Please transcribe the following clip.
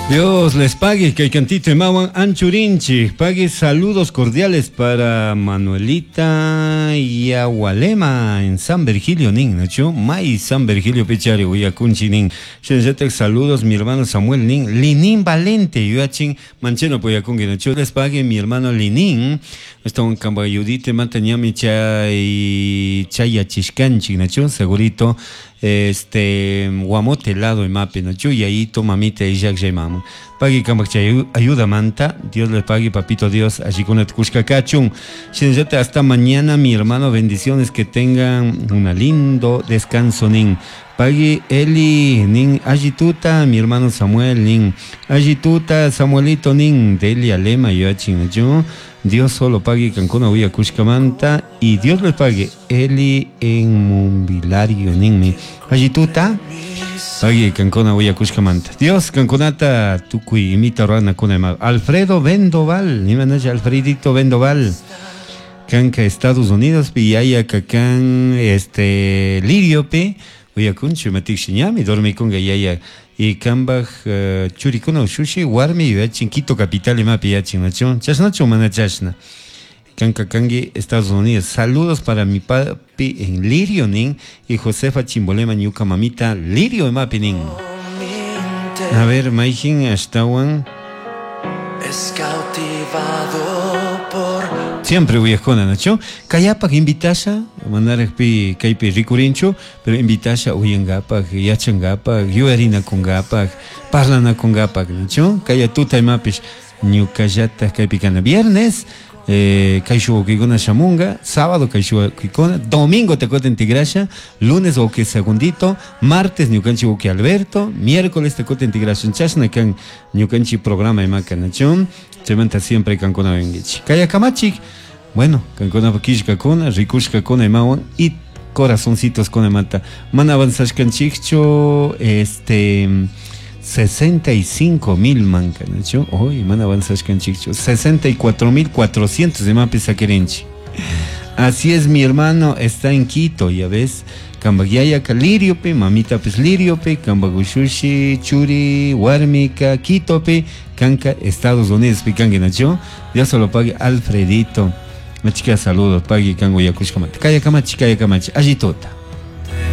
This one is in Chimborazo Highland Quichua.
Dios les pague, kay cantito imawan anchurinchik. Pague saludos cordiales para Manuelita Yagualema en San Virgilio nin, ¿no? May San Virgilio pichari uyakunchi nin. Shinallatak saludos mi hermano Samuel nin. Linin Valente yuyachin mancheno puyakunki, ¿no? Les pague mi hermano Linin. Estawan kambayudite manta ñami chay chayachishkanchik, ¿no? Segurito este guamote lado imapi, ¿no? Yayito, mamita, Isaac, mama. Pagui kambak chay ayuda manta, Dios le pague, papito Dios, allí con el kachun. Shinallata hasta mañana, mi hermano, bendiciones, que tengan un lindo descanso, nin. Pagui Eli, nin, allituta, mi hermano Samuel, nin. Allituta, Samuelito, nin, Delia Lema, yo yo. Dios solo pague Cancuna Uya Cushcamanta y Dios le pague Eli en Mumbilario, nin, Allituta. Pague Cancuna Uya Cushcamanta. Dios Cancunata tukuy imita rana kuna Alfredo Vendoval, ni manacha Alfredito Vendoval. Canca Estados Unidos, piyaya kakan este Lirio pe uyakunchu matik ñami dormikunga yaya y kambaj churikuna ushushi warmi yuyachin Quito capital imapi yachin nachu chashnachu mana chashna Kanka kangi Estados Unidos. Saludos para mi papi en Lirio nin y Josefa Chimbolema ñuka mamita Lirio imapi nin. A ver, Maijin ashtawan Es cautivado por Siempre uyajuna, ¿no? Kayapak invitasha, mandarajpi kaypi rikurinchu, pero invitasha uyangapak, yachangapak, yuyarinakungapak, parlanakungapak, ¿no? Kaya tuta imapish ñukallata kaypi kana viernes, kay wawkikuna shamunga, sábado kay wawkikuna, domingo te kutin tigrasha, lunes wawki segundito, martes ñukanchik wawki Alberto, miércoles te kutin tigrasha, chashna kan ñukanchik programa imaka, ¿no? Chaymanta siempre kankuna vengichik. Kaya kamachik, bueno, kankuna killkakuna, rikushkakuna imawan y corazoncitos con imata. Mana avanzashkanchikchu, 65,000 manka, ¿no? Hoy mana avanzashkanchikchu, 64,400 imapi saquirinchik. Así es, mi hermano está en Quito, ya ves. Kambagyaya ka Liriope, mamita pues Liriope, Kambagushushi, Churi, Warmika, Quitope, Kanka, Estados Unidos, picangue, ¿no? Dios se lo pague, Alfredito. Machica, saludos, pague, kango, yakushkamata. Kaya kamachi, kaya kamachi, allí tota.